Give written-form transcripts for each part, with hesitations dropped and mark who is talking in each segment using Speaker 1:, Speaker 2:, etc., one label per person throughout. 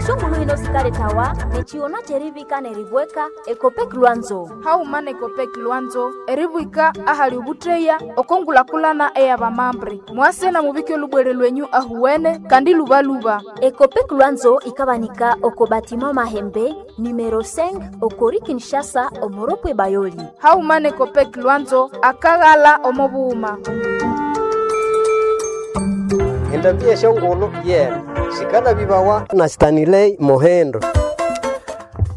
Speaker 1: Eshongulu hino sikaletawa nechiona cherivika neribweka Ekopek Lwanzo.
Speaker 2: Hauma nekopek Lwanzo eribwika ahali ubutreya okongulakulana eyabamambre. Mwase na mubike olubwere lwenyu ahuwene kandi lubaluba.
Speaker 1: Ekopek Lwanzo ikabanika oko batima Mahembe numero 5 okori Kinshasa omoropwe Bayoli.
Speaker 2: Hauma nekopek Lwanzo akaghala omobuhuma.
Speaker 3: Endambi eshongolo yena sikalabibawa na Stanley Mohendo.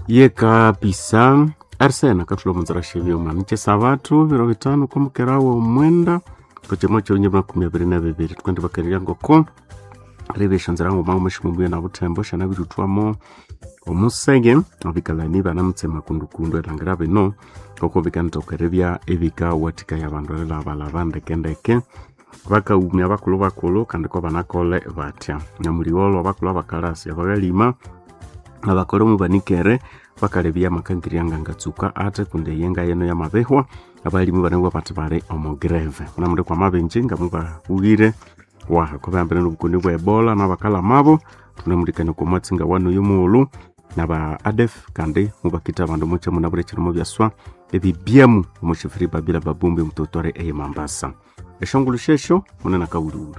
Speaker 4: Ye kabisa arsene akathula omunzira shebyoma nikyesabatu biro bitano kwamukera w'omwenda kuchimo kyonye 2022 tukandi bakalirya ngoko ribesha nzira ngoma omashimumbuya na butembo shanabirutwamo omusege abikalani banamutsema kundukundu elangira bino ngoko bikanithokerebya ebikawathikaya abandu erilhabalaba ndekendeke bakaumya bakulhu bakulhu kandi ko banakole batya nyamuliwolho abakulhu abakalasi abakalima abakole mubanikere bakalebya amakangirya ngangatsuka ate kundi eyenga yeno yamabihwa abalimi banabwa bathi bali omo greve banamuli kwa mabenji ngamubabughire waha kubahambene nobukoni bwa ebola nabakalamabo tunamulikania kwa mwatsi nga wanu oyu mughulhu naba adef kandi mubakitha abandu mukya munabwire ekirimo byaswa ebibyemu omushifiri babila babumbi mutotore eye Mambasa eshongolo shesho munene akawuluwulu.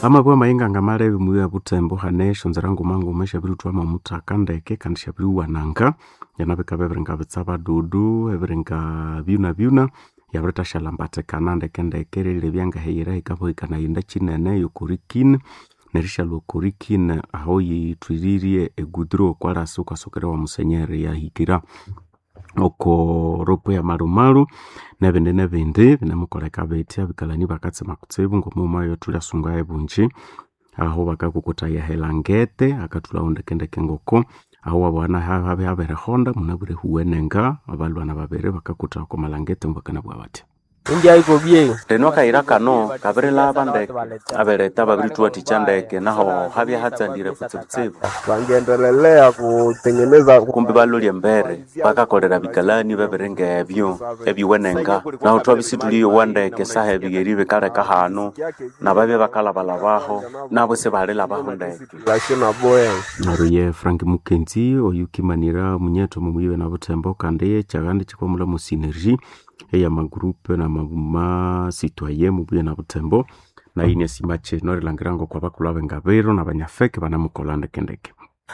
Speaker 4: Amabwa amayenga ngamalebe muya butembo hane eshonzera nguma nguma esyabiritwama omuthaka ndeke kandi syabiriwananga yanabikaba ebiringa bitsabadudu ebiringa byuna byuna yabirithasyalhambathikana ndeke ndeke erilebya ngaheyira hikabuhikana yinda kinene yokorikin nerishalwa okorikin aho yithwiririe egudro okwalasi okwasokera wa musenyeri yahikira oko ropo ya malumalu nebindi nebindi binemukoleka bitya abikalani bakatsema kutsibu ngomughuma yothulyasunga ebunji aho bakakukutaya helangete akathulhawo ndekendeke ngoko aho wabana habe haberehonda munabwire huwenenga abalwana babiri bakakutha oko malangete mubakanabugha batya.
Speaker 5: Rino akayira kano kabirilhaba ndeke abereta babirituwathikya ndeke naho habya hatsandire kutsibutsibu.
Speaker 6: Wangendelelea kutengeneza
Speaker 5: kumbi balolya embere bakakolera bikalani bebiringa ebyo ebiwenenga naho twabisithuliyowa ndeke saha ebigheri bikaleka hanu nababya bakalhabalabaho nabo sibalilhabaho ndeke.
Speaker 4: Neryo ye Frank Mukenzi oyukimanira munyetho mumuyibe na butembo kandi ekyagandi kikwamulha mu synergie eyamagroup namama citoyen mubuye na butembo nayo inasima kino erilhangira ngoko abakulhu abengabiro nabanyafeke banamukolha ndekendeke.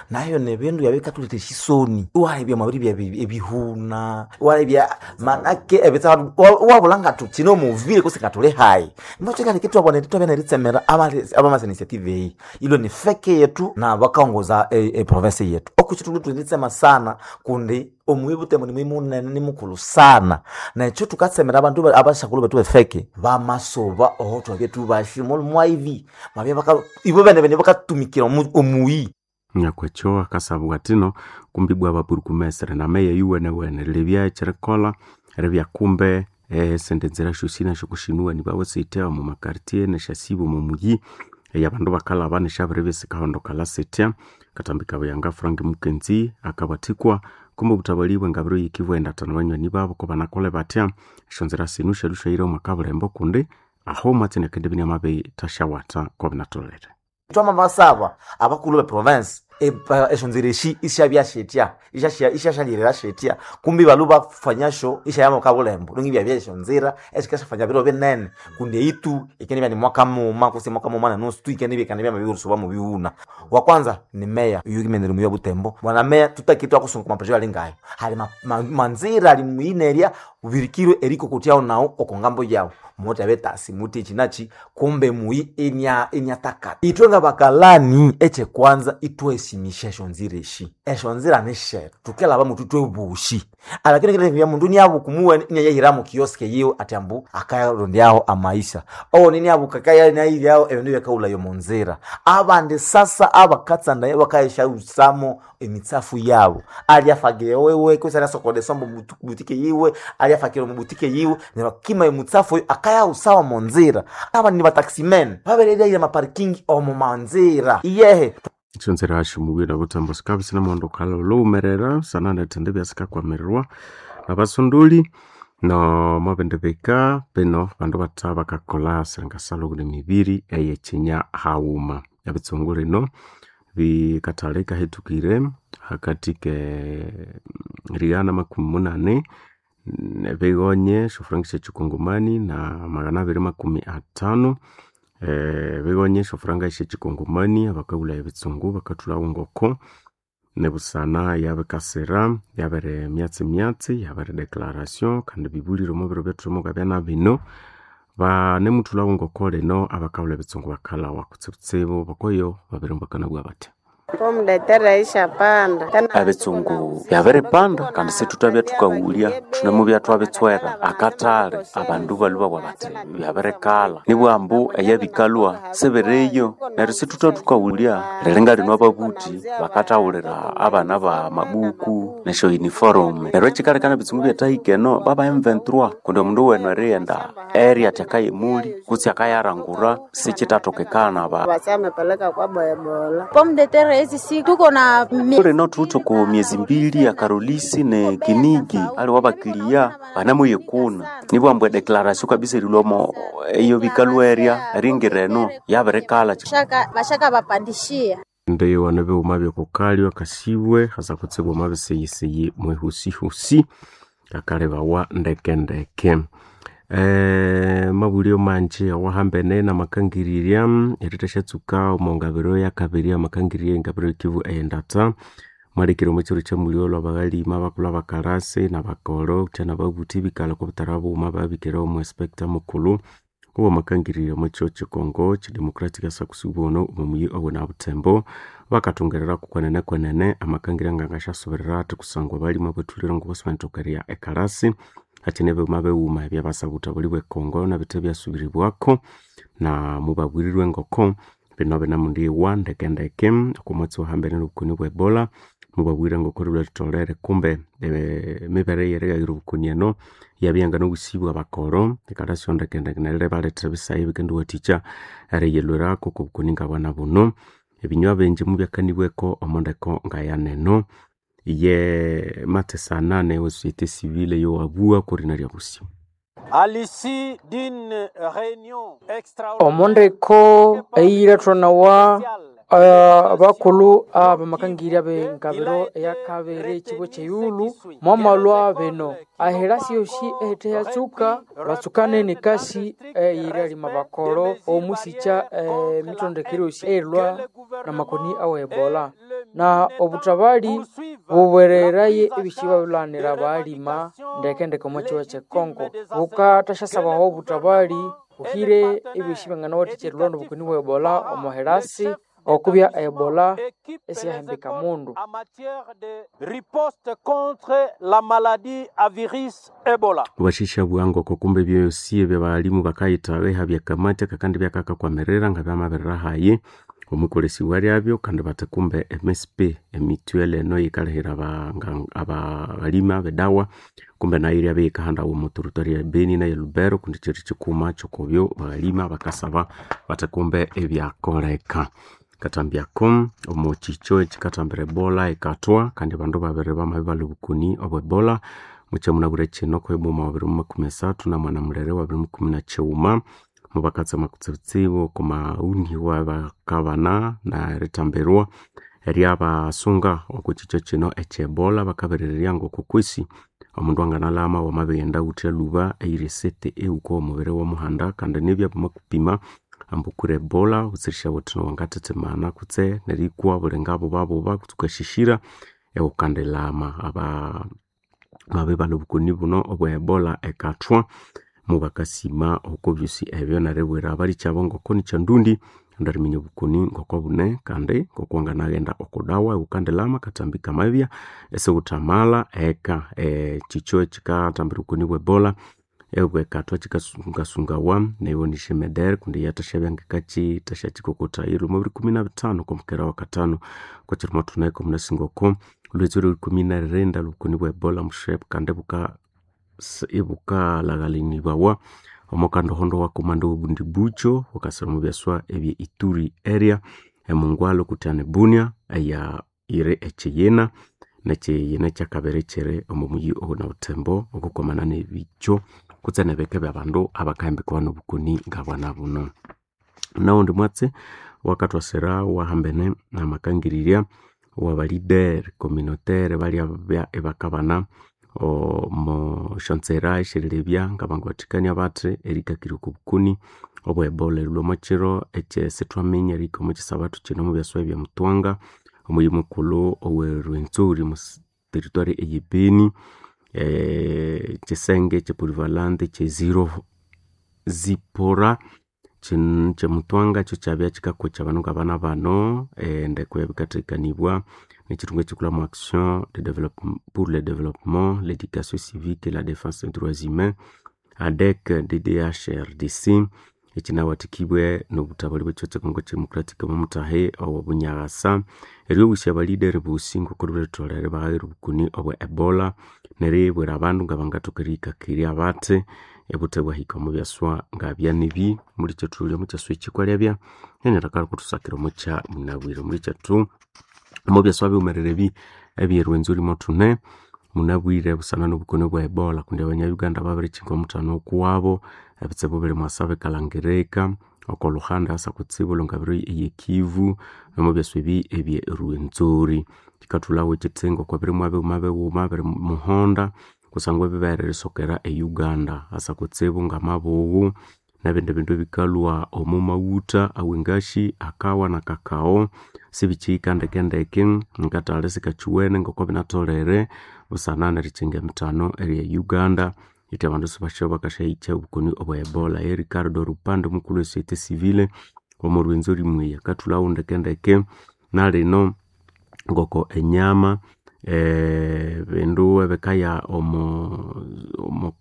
Speaker 7: Nayo nebindu byabikathuletha esisoni iwalebya mwabiribya ebihuna iwalebya manake ebitsa wabulha ngathu kino muvile kutse ngathuli hayi mbakyikaleka ithwabona ithwabya neritsemera abamasa initiative eyi ilwe ni feke yethu nabakaongoza eprovince yethu okukyi thulwe thweritsema sana kundi omuyi butembo ni muyi munene ni mukulhu sana nekyo thukatsemera abandu abashakulhu bethu befeke bamasuba oho thwabya thubashi mwaibi mwabya baka ibo bene bene bakatumikira omuyi.
Speaker 4: Nyakwekyo akasabwa athino kumbi ibwa ababurugumesere nameya yuwenewene rilebya ekyerikolha eribya kumbe esindi nzira syosi nasyokusyinuwani bawasitya omu makartier nesyasiba omu muyi eyabandu bakalhaba nesyabiribya sikahondokalha sitya katambi kabuyanga Frank Mukenzi akabathikwa kumbe obuthabalhi bwengabiro yikibwa endathano banywani babo kobanakolhe batya esyonzira sinu syalusyaira omu kabulembo kundi aho omwatsi nakendibya inamabithasyawatha kobinatholere.
Speaker 7: Twamabasaba abakulhu be province eshonzira eshi isyabya syetya isyasyalirira syetya kumbi balhu bafanyasyo isyaya mukabulembo lungi ibyabya esyonzira esikasyafanya biro binene kundi eitu ikenibya ni mwaka mughuma kutse mwaka mughuma na nusu tu ikenibya ikanibya mabirisuba mubighuna. Wa kwanza ni meya oyukimenere muyi wa Butembo bwana meya tutakire twakusunga okwa maproje alingayo hali manzira ali muyinerya ubirikirwe erikokotyawo nawu oko ngambo yawu muthe betasi muthi ekyi nakyi kumbe muyi inyatakata. Ithwe ngabakalani ekyekwanza ithwesimisya esyonzira esyi esyonzira nisyetu thukelhaba muthu ithwebosi alakini kilebya mundu iniabuka omuwene inayahira mu kiosk yiwe athi ambu akayarondyaho amaisha owundi iniabuka akaya inayiryaho ebindu ebyakahulhaya omunzira. Abandi sasa abakatsandaya bakayasyaghusamo emitsafu yabo alyafagira wewe kutse alyasokola esombe omubutike yiwe alyafakira omubutike yiwe neryo akima emutsafu oyo akayaghusawa omunzira. Abandi ni bataximen babiriryaira amaparking omu manzira iyehe.
Speaker 4: Esyonzira syomubuya nobutembo sikabya isinamuhondokalha olhughumerera sananethindi ibyasikakwamirirwa nabasondoli. No mabindi bika bino bandu batha bakakolha siringasalo kuli mibiri eyekinya haghuma. Ebitsungu lino bikathaleka kahitukire hakathi ke righana 80 bighonye esyofuranga syekyikongomani na 250 bighonye esyofuranga syekyikongomani abakaghulhaya ebitsungu bakathulhagho ngoko nibusana yabikasira yabiri myatsi myatsi yabiri declaration kandi bibulire omo biro ebyathulimo ngabya bino banemuthulhagho ngoko lino abakaghulha ebitsungu bakalhawa kutsibutsibu bakoyo babiri bakanabugha bathi
Speaker 5: Ebitsungu byabiripanda kandi sithuthabya thukaghulya thunemubya thwabitswera akathali abandu balhwe babugha bathi byabirikalha nibwambu eyabikalhwa sibiriyo neryo sithutha thukaghulya liringa lino ababuthi bakathaghulira abana ba mabuku nesyo uniform neryo ekikalekana ebitsungu byathahika eno baba M23 kundi omundu wenu erighenda eri athi akayemuli kutse akayarangura sikithathokekana ba
Speaker 8: Pomme de terre hizi si tuko na
Speaker 5: lino thuwithe oko myezi mbili ya karolisi ne kinigi aliwe abakiliya banamuyikuna nibwambu edeclaration kabisa erilhwamo eyo bikalhwerya eringira eno yabirikalha
Speaker 8: shaka bashaka bapandishia
Speaker 4: ndi wane bighuma byokukalya akasibwe hasa kutsibu omwabisiyisiyi mwihusihusi kakalebawa ndekendeke mabulyo manji awahambene namakangirirya erithasyatsuka omongabiro yakabiri amakangirirya engabiro y'ekivu eyendata mwalekire omo kiro kyamulyo lwabaghalima abakulhu abakalasi nabakolo kutya nababuthi bikalha okobutara bughuma babikere omu inspector mukulhu owamakangirire omo kiro kyekongo kidemocratic asakusibu ono omuyi owena Butembo bakathungerera kwenene kwenene amakangirya ngangasyasubirira athi kusangwa abalimi abathulire ngokosibanithokerya ekalasi hakyine ebighuma bighuma ebyabasabutha buli bwekongo nabithe byasubiribwako na mubabwirirwe ngoko bino binamundiwa ndekendeke okomwatsi wahambene nobukoni bwe Ebola mubabwire ngoko lhulhwatholere kumbe emibere eyerighayira obukoni eno yabya nobusibu abakoro ekalasi ndekendeke neryo ibalethera ebisayi ebikendiwathikya eriyilhwirako okobukoni ngabwana buno ebinywa bingi mubyakanibweko omondeko ngayaneno ye mathesana ne société civile yowabua kurina lyabusi
Speaker 9: Omondeko eyirethwanawa abakulhu abamakangirya b'engabiro eyakabiri ekibo kyeyulu mwamalhwa bino ahilasi yosi ehethe yatsuka batsukane nekasi eyiryalima bakolo omusikya emitondekere yosi eyilhwa namakoni awe ebola na obuthabali bubwereraye ebisi babilhanira abalima ndekendeke omo kiwa kyekongo bukathasyasaba obuthabali buhire ebisi byanganawathikya erilhwa nobukoni bwa ebola omo hilasi okubya ebola esiyahembeka mundu.
Speaker 4: Bashisha bwangu kumbe byosi ebyabalimu bakayithaga ihabya kamati kakandi byakakakwamirira nga byamabirira hayi omukolesiwa lyabyo kandi bathi kumbe MSP emituel eno yikalihira abalimi abedawa kumbe nayo iryabya yikahandawa omu territory ya Beni naye Lubero kundi kyiri kikuma kyokobyo balima bakasaba bathi kumbe ebyakoleka katambyako omu kikyo ekikathambira ebola ekathwa kandi abandu babiri bamabya obukoni obwa ebola mukyamunabwire kino kwebuma wa 2030 na mwana mulere wa 2019 mubakatsema kutsibutsibu okumauni wabakabana na erithambirwa eryabasunga okukikyo kino ekyebola bakaberererya ngokukwisi omundu anganalama wamabighenda wuthya lhuba eyirisete ehuka omubiri womuhanda kandi nibya bamakupima ambukure ebola wutsirisha wuthi wangathethemana kutse nerikwa bulinga bubabuba kutse wukashishira ewukandilama aba mabibalha obukoni buno obwa ebola ekathwa mubakasima oko byosi ebyo neribwira abalikyabo ngoko nikyandundi indi eriminya obukoni ngoko bune kandi ngoko wanganaghenda oko dawa ewukandilama katambi kamabya isiwuthamala eka ekikyo ekikathambira obukoni bwa ebola ebwekathwa kikasungasungawa neyonisha emedere kundi yathashabya ngikakyithasyakyikokothayi lhuma 2015 okwamukera wakatano kwekyirumo thuneko munasinga oko lhwetsi lwe 2024 lobukoni bwa ebola mushepu kandi buka ibukalaghalinibawa omukandohondo wa komando obundi bucho bukasira omu byaswa ebye Ituri area emungwalo kuthana Bunia eya iri ekyiyina. Nekiyina kyakabiri kyiri omo muyi na Butembo okukwamana nebikyo kutse nebike byabandu abakahambikawa nobukoni ngabwana buno. Nawundi mwatsi wakathwasira wahambene namakangirirya wabalider communautaire balya ibakabana omo syonzira esyerilebya ngabangawathikania bathi erikakirya oko bukoni obwe Ebola erilhwa omo kiro ekyesithwaminya erihika omo kyisabathu kino omu byaswa ebya Mutwanga omuyi mukulhu owe Rwenzori omu territory eye Beni, kyisenge kye polyvalent kye zero zipora kye Mutwanga kyo kyabya kyikakokya abandu ngabana bano, endeko yabikathekanibwa nekyithunga ekyikulhamu action pour le développement, l'éducation civique et la défense des droits humains ADEC DDHRDC ekyinawathikibwe nobuthabalhi bwekyo kye Congo Democratic omumuthahi owo Bunyaghasa eryoghusya abalideri bosi ngoko ribetholere baghayira obukoni obwe Ebola neribwira abandu ngabangathoka eriyikakirya bathi ebuthe bwahika omo byaswa ngabya nibi. Mulikyethu omo kyaswa ekyi kwalyabya nanyalhaka kuthusakira omo kya munabwire. Mulikyethu omo byaswa biwumerere ebi ebye Rwenzori mothune munabwire busana nobukoni obwa Ebola kundi abanya Uganda babirikyinga omuthano okuwabo, ebitsibu biri mwasa bikalhangirika oko luhanda asa kutsibu olwengabiro eye Kivu nomo byaswa ebi ebye Rwenzori. Kikathulhawo ekyitsingo okwa birimwa bighuma bighuma biri muhonda kusangwa ebibere erisokera e Uganda asa kutsibu ngamabughu nebindi bindu ebikalhwa omo maghutha awengashi akawa na kakao sibikyihika ndekendeke ngatali sikakyuwene ngoko binatholere busana nerikyinga emithano eye Uganda ithi abandu sibasyoba bakasyahikya obukoni obwa Ebola. Ye Ricardo Rupande omukulhu we société civile omo Rwenzori mweya akathulhawo ndekendeke nalino ngoko enyama, ebindu ebikaya omo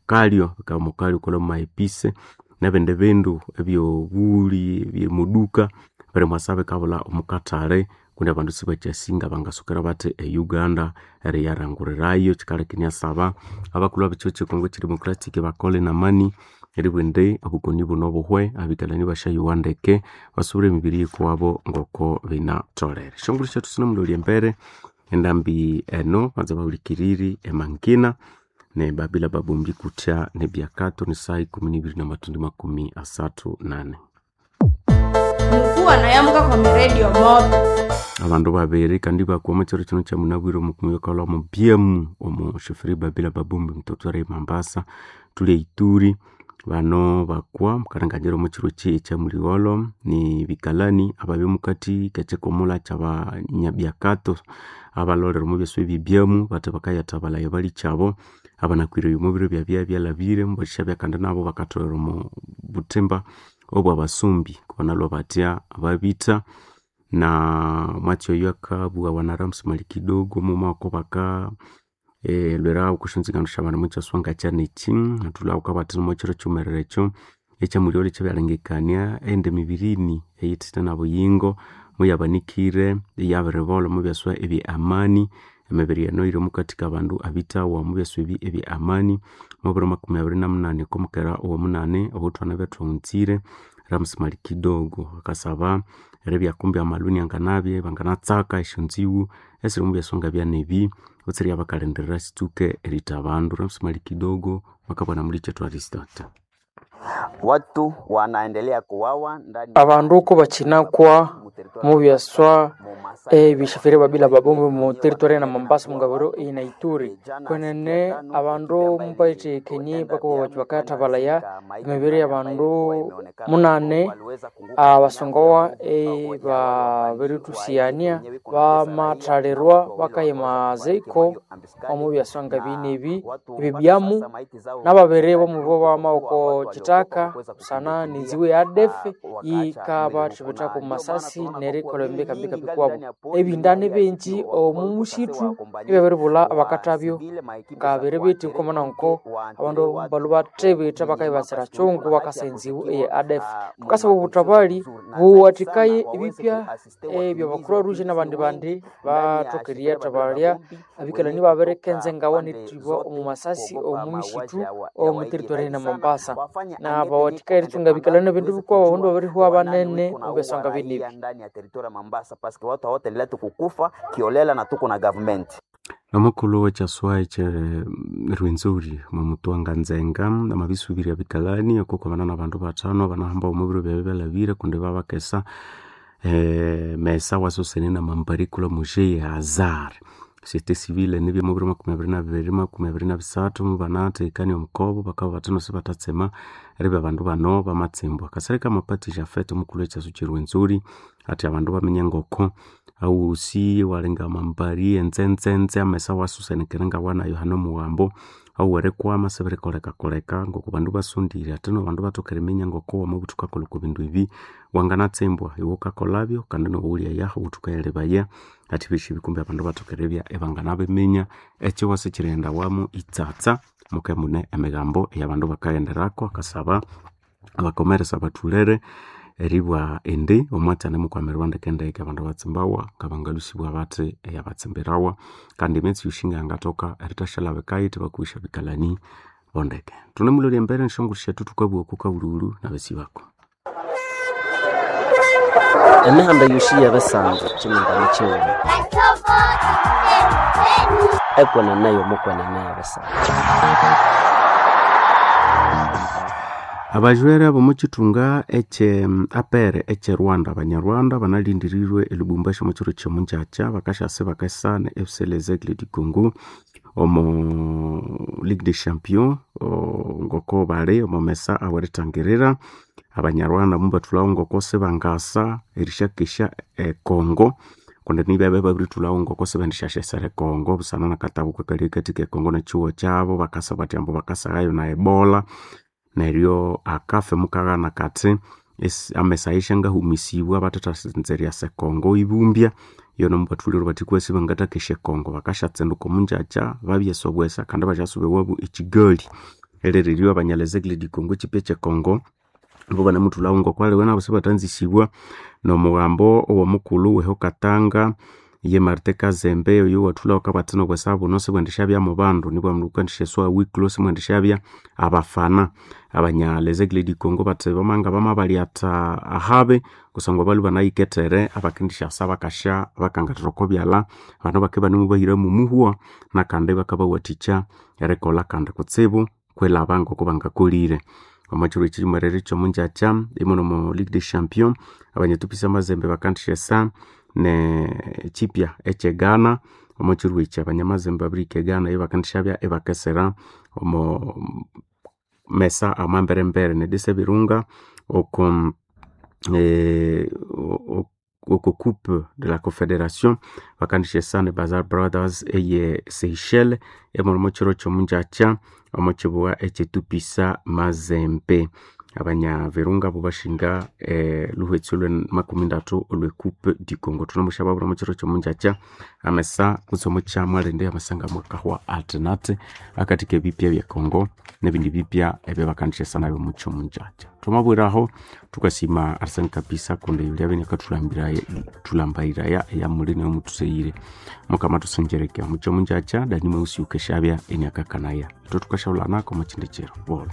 Speaker 4: kalyo bikaya omo kalyo okolha mwa epise nebindi bindu ebyobuli ebyemuduka birimwasa bikabulha omo kathali kundi abandu sibakyasinga bangasokera bathi e Uganda eriyarangurirayo. Kyikaleka inasaba abakulhu abekihugho kye Congo Democratic bakole namani eribugha indi obukoni buno buhwe abikalani basyayowa ndeke basubure emibiri yikuwabo ngoko binatholere. Esyongulhu syethu sinemulholya embere endambi eno banza bahulikiriri emangina ne Babila Babombi kutya nebyakato ni saa 12 na mathundi 34.
Speaker 10: Mukuwa nayamuka kwa miredio moto.
Speaker 4: Abandu babiri kandi bakwa omo kyiro kino kyamunabwire omukumiyo kalhwa omu byemu omu shoferi Babila Babombi mutotware Mombasa thuli Ituri bano bakwa mukalenganyira omo kyiro kyi ekyamuligholho ni bikalani ababya mukathi kekyikumula kyabanyabyakato abalholere omo byaswa ebyebyamu bathi bakayathabalaya balikyabo abanakwire omo biro byabya byalhabire mubasyabya kandi nabo bakatholera omo buthimba obwabasumbi kubanalhwa batya babitha na omwatsi oyo akabughawa na Ramsi Malikidogo mughuma wako baka lhwera okwasyanzingano syabandu omo kyaswa ngakyanekyi athulhawo kabathi omo kyiro kyiwumerere ekyo ekyamuligholho ekyabyalengekania ende emibirini eyithithe nabuyingo muyabanikire iyabiribolha omo byaswa ebye amani. Emibiri eno yiri omukathi kabandu abithawa omo byaswa ebi ebye amani omubiro 28 okwamukera owomunani obuthwana byathwaghunzire. Ramsi Malikidogo akasaba eribya kumbi amalhuni anganabya banganatsaka esyonziwu esiri omu byaswa ngabyanebi kutse eribya sitsuke eritha abandu. Ramsi Malikidogo bakabana mulikyethu Aristote.
Speaker 11: Watu wanaendelea kuwawa ndani
Speaker 9: Abandu kubakyinakwa mu byaswa ebishafiri Babila Babombi mu territory na Mombasa mungabiro ina Ituri kwenene abandu mubayithekenye bakoba bathi bakathabalaya emibiri y'abandu munane abasongowa ebabirithusiyania bamathalirwa bakayima ziko omu byaswa ngabine ebi ebibyamu nababiri bomubo bama oko kyithaka busana nenziwu ya ADF yikabathibithaku masasi nerikolha embikambika kwabo ebindani bingi omu musithu ebyabiribulha abakathabyo ngabiri bithi nkomana nko abandu balhu bathibitha bakayibasira kyungu bakasa enziwu eye ADF. Thukasaba obuthabali buwathikaye ebipya ebya Croix Rouge nabandi bandi bathoke eriyathabalya abikalani babirikenza engawa nerithibwa omu masasi omu misithu omu territory na Mombasa na bawathikaye erithunga abikalani ebindu bikwabo abandu babirihwa banene omu byaswa ngabine ebi.
Speaker 11: ndani ya territory ya Mombasa paske watu hawataendelea tukukufa kiolela na tuko na government.
Speaker 4: Nomukulhu wekyaswa ekye Rwenzori Mwamutwanga Nzenga amabisubirya bikalani okwakwamana nabandu bathano banahamba omubiro byabu byalhabire kundi babakesa mesa wasusene namambarikula muje hazar société civile nibya mubiro 2022 2023 mubanathekania omukobo bakabugha bathi no sibathatsema eribya abandu bano bamatsimbwa. Kasereka Mapati Japhet omukulhu wekyasu kye Rwenzori athi abandu baminya ngoko awusi walinga amambari enzenzenze amesa wasusenekere ngawanayo hano omughambo awerikwama sibirikolekakoleka ngoko bandu basondire athi no bandu bathoke eriminya ngoko wamabutha wukakolha okwa bindu ebi wanganatsimbwa iwe wukakolhabyo kandi nowuwulyayahu wuthukayalebaya athi ebyosi ebi kumbe abandu bathoke eribya ibanganabiminya ekyiwasa ekyirighendawamu itsatsa muke mune emigambo eyabandu bakaghenderako akasaba abakomeresa bathulere eribwa indi omwatsi animukwamirwa ndekendeke abandu batsimbawa ngabangalhusibwa bathi eyabatsimbirawa kandi emyatsi yosi ngayangathoka erithashalabikayo ithibakuwisya bikalani bondeke. Thunemulolya embere neshongulho syethu thukabugha oko kabulhughulhu nabesi bako.
Speaker 12: Emihanda yosi y'ebisanzu kyinimba kyighuma ekwenene y'omukwenene y'ebisanzu.
Speaker 4: Abajwere ab'omukyithunga ekye APR ekye Rwanda abanyarwanda banalindirirwe e Lubumbashi omu kyiro ky'omungyakya bakasyasa ibakesa ne FC Les Aigles du Congo omu Ligue des Champions ngoko bali omu mesa awerithangirira abanyarwanda mubathulhawo ngoko sibangasa erisyakesya e Congo kundi nibya babirithulhawo ngoko sibendisyasesera e Congo busana nakatabu akali akathi ke Congo nekyihugho kyabo bakasa bathi ambu bakasaghayo na Ebola neryo akafe mukaghana kathi amesa ayo isyangahumisibwa bathathasanza eryasa ekongo ibumbya yono mubathulire bathi kwesi bangathakesya ekongo bakashatsinduka omungyakya babyesa obwesa kandi basyasuba ewabu e Kigali erereryo abanya Les Aigles du Congo ekyipya ekyekongo ibo banamuthulhawo ngoko aliwe nabo sibathanzisibwa nomughambo owomukulhu weho Katanga ye Martin Kazembe oyo wathulhawo akabugha athi nobwesa buno sibwendisyabya mubandu nibwa mundu wukandisyaswa wikilo simwendishabya abafana abanya Les Aigles du Congo bathi bamanga bamabalyatha ahabi kusangwa balhwe banayikethere abakendisyasa bakasya bakangathira oko byalha abandu bakibya ibanemubahira mumuhwa nakandi bakabawathikya erikolha kandi kutsibu kwilhaba ngoko bangakolire. Omo kyiro ekyimerere ekyomungyakya imune omo Ligue des Champions abanyatupisa amazembe bakandisyasa ne kyipya ekye Ghana omo kyiro ekyi abanyamazembe babirihika e Ghana ibakendishabya ibakesera omo mesa amamberembere nedisa ebirunga oko oko coupe de la confederation bakandisyesa ne Bazar Brothers eye Seychelles emuli omo kyiro kyomungyakya omo kyibugha ekyetupisa Mazembe abanya Virunga bo bashinga luhwetsi olwe makumi ndatu olwe coupe du Congo. Thunemusyababwira omo kyiro kyomungyakya amesa kutse omukyamwalindi amesa ngamwakahwa athinathi akathi kebipya bye Congo nebindi bipya ebyabakandisyasa nabyo omu kyomungyakya. Thwamabwiraho thukasima Arsene Kapisa kundi lyabya inakathulambiraya eyamuli neyomuthuseyire mukama athusengereke omu kyomungyakya Dani Mweusi yukesyabya iniakakanaya ithwe thukasyaghulhanako omo kyindi kyiro bolho.